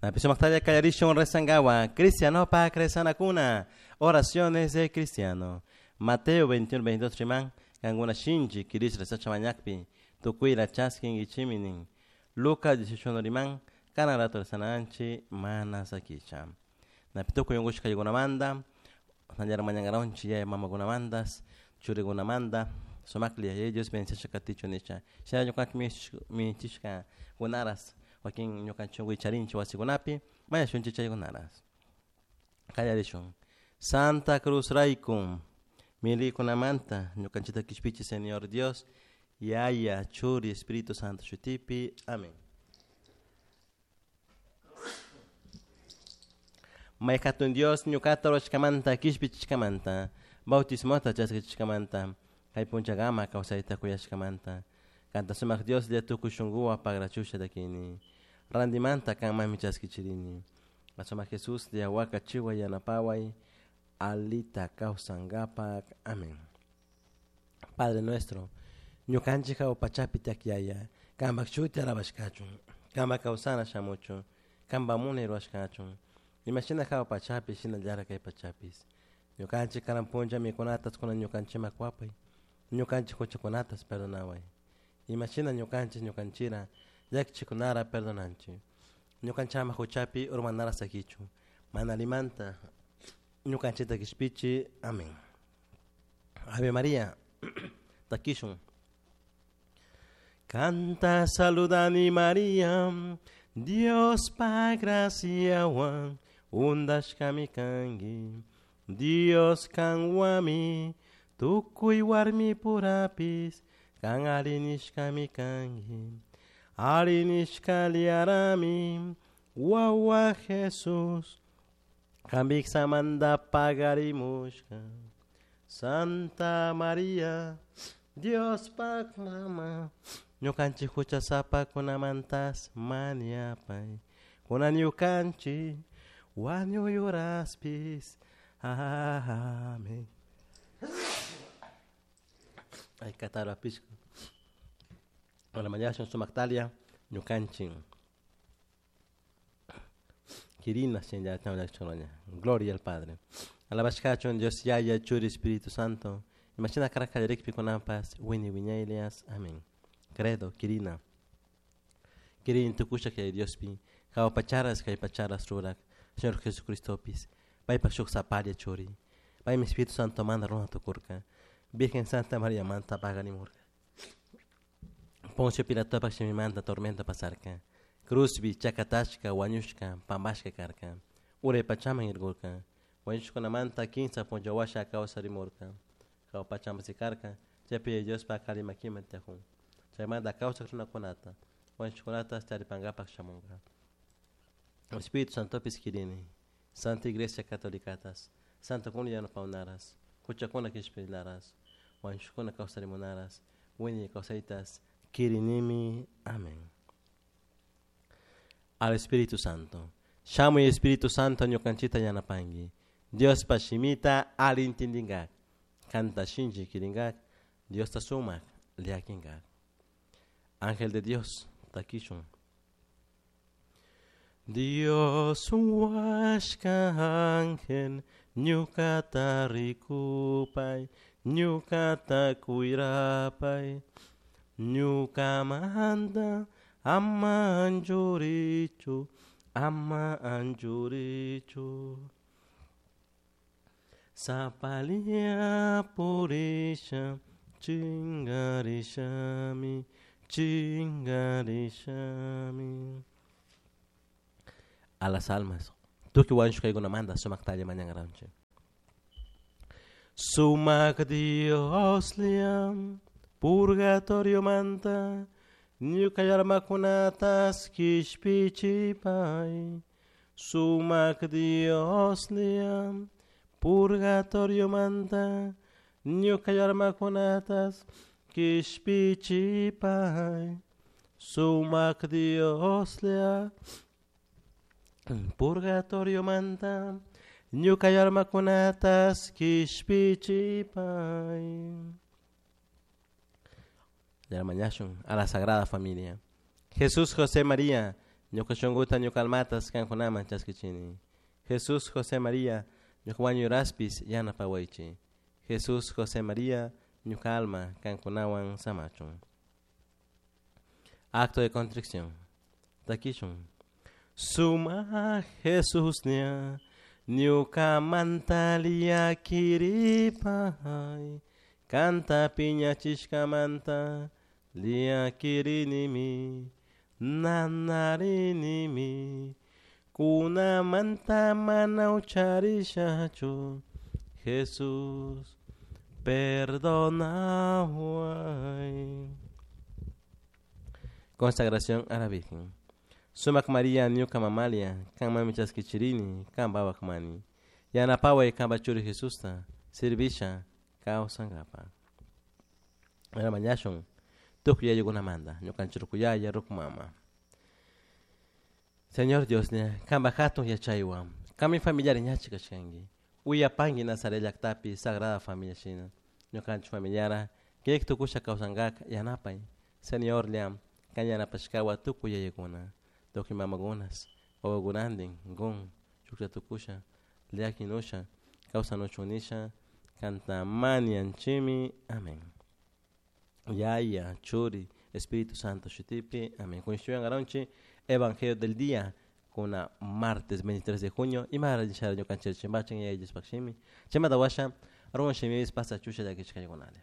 Napi sumaktalla kallarishun rezangawa cristianopak rezanakuna oraciones de cristiano. Mateo 21, 22 riman kankuna shinchi kirish rezacha mañakpi tukuyla chaskinkichimi nin. Lucas 18 riman kanan rato rezananchik mana sakicha. Napi tukuy unkushkaykunamanta nallar mañankaranchik yaya mamakunamantas churikunamanta sumaklla Yaya Dios bendiciasha katichun nisha. Shina ñukanchik minchishka kunaras wakin ñukanchik unkuy charinchik wasikunapi mañashunchik chaykunaras. Kallarishun. Santa Cruz rayku milikunamanta ñukanchikta kishpichi Señor Dios Yaya Churi Espíritu Santo shutipi. Amén. May hatun Dios ñukata rurashkamanta kishpichishkamanta bautismota chaskichishkamanta kay punchakama kawsayta kuyashkamanta kanta sumak Dioslla tukuy shunkuwan pagrachusha takini rantimanta kanmanmi chaskichirini sumak Jesuslla wakachiway yanapaway alita kawsankapak. Amén. Padre nuestro, ñukanchik hawa pachapi tiyak Yaya, kanpak shuti alabashkachun, kanpak kawsana shamuchun, kanpak munay rurashkachun, imashina hawa pachapi shinallara kay pachapis. Ñukanchik karan punlla mikunatas kunan ñukanchikman kuwapay, ñukanchik huchakunatas perdonaway. Imashina ñukanchik ñukanchira llakichikunara perdonanchik. Ñukanchama huchapi urmanara sakichun, mana alimanta ñukanchikta kishpichi. Amén. Ave María, takishun. Canta saludani María, Dios pa graciawan undashkami kanki. Dios kanwami tukuy warmi purapis kan arinishkami kanki. Arinishka liarami wawa Jesús kambiksamanta pagarimushka. Santa María, Dios pak mama, ñukanchik huchasapakunamantas mañapay. Kunan ñukanchik wañuyuraspis. Amén. Ay, katara pishku. Hola, mañana sumaktalia, ñukanchik. Kirina, Gloria al Padre. Alabashkachun Dios Yaya, Churi, Espíritu Santo. Imagina karakallarikpi kunanpas, wini wiñaylias. Amén. Credo, Kirina. Kirin tukusha kay Diospi, hawa pacharas kay pacharas rurak, Señor Jesucristopis, paypak shuk saparia churi. Paymi Espíritu Santo manda runa tukurka. Virgen Santa María manta paganimurka. Poncio Pilatopak shimimanta tormenta pasarka. Cruzbi chakatashka wañushka pampashka karka. Uray pachaman irkurka. Wañushkunamanta kinsa punchawasha kawsarimurka. Hawa pachaman sikarka, chaypi Diospak qhari makiman tiyakun. Chaymanta kawsak runakunata, wañushkunata charipankapak shamunka. Espíritu Santopis kirini, Santa Iglesia Catolicatas, Santa kuna yanapawnaras, huchakuna kishpiylaras, wañushkuna kawsarimunaras, wiñay kawsaytas, kirinimi. Amén. Al Espíritu Santo. Shamuy Espíritu Santo ñukanchita yanapanki. Diospa shimita ali intindinkak. Kanta shinchi kirinkak. Diosta sumak llakinkak. Ángel de Dios, takishun. Dios huashka ángel, ñukata rikupay, ñukata kuyrapay, ñukamanta ama anchurichu, ama anchurichu. Sapalia purisha, chingarishami, chingarishami. A las almas. Tukuy wañushkaykunamanta sumaktalla mañankaranchik. Sumak Dioslla purgatoriomanta ñuka almakunatas kishpichipay. Sumak Dioslla purgatoriomanta ñuka almakunatas kishpichipay. Sumak Dioslla purgatoriomanta ñuka almakunatas kishpichipay. Mañashun a la Sagrada Familia. Jesús, José, María, Ñuka shunkuta ñuka almatas kankunaman chaskichini. Jesús José María ñuka wañuraspis yanapawaychik. Jesús José María ñuka alma kankunawan samachun. Acto de contrición. Takishun. Suma Jesús ña ñukamanta llakiripay kanta piñachishkamanta llakirinimi nanarinimi kunamanta mana ucharishachu Jesús perdonaway. Consagración a la Virgen. Sumak María ñuka mamalia, kanmanmi chaskichirini, kan mani. Yanapaway kanpa churi Jesusta, servisha kawsankapa. Mañashun tukuy yayukunamanta, ñukanchik rukuyaya, ruku mama. Señor Dios ña, kanpa hatun yachaywan, kanmi familiar ñachi kashkanki. Uyapanki Nazaret llaktapi Sagrada Familia shina. Ñukanchik familiara, kik tukusha kawsankaka yanapay. Señor lla, kan yanapashkawa tukuy yayakuna, tukuy mamakunas, wawakunantin, gun, shuklla tukusha, llakinusha, kawsanuchun nisha, kanta mañanchimi. Amén. Yaya, Churi, Espíritu Santo, shutipi. Amén. Kunshuyan garonchi, Evangelio del día, kuna martes 23 de junio, y más ñukanchik chimbachin yaya Diospakshimi. Chaymanta washa, ruwan shimipi pasa chusha llakichkaykunalla.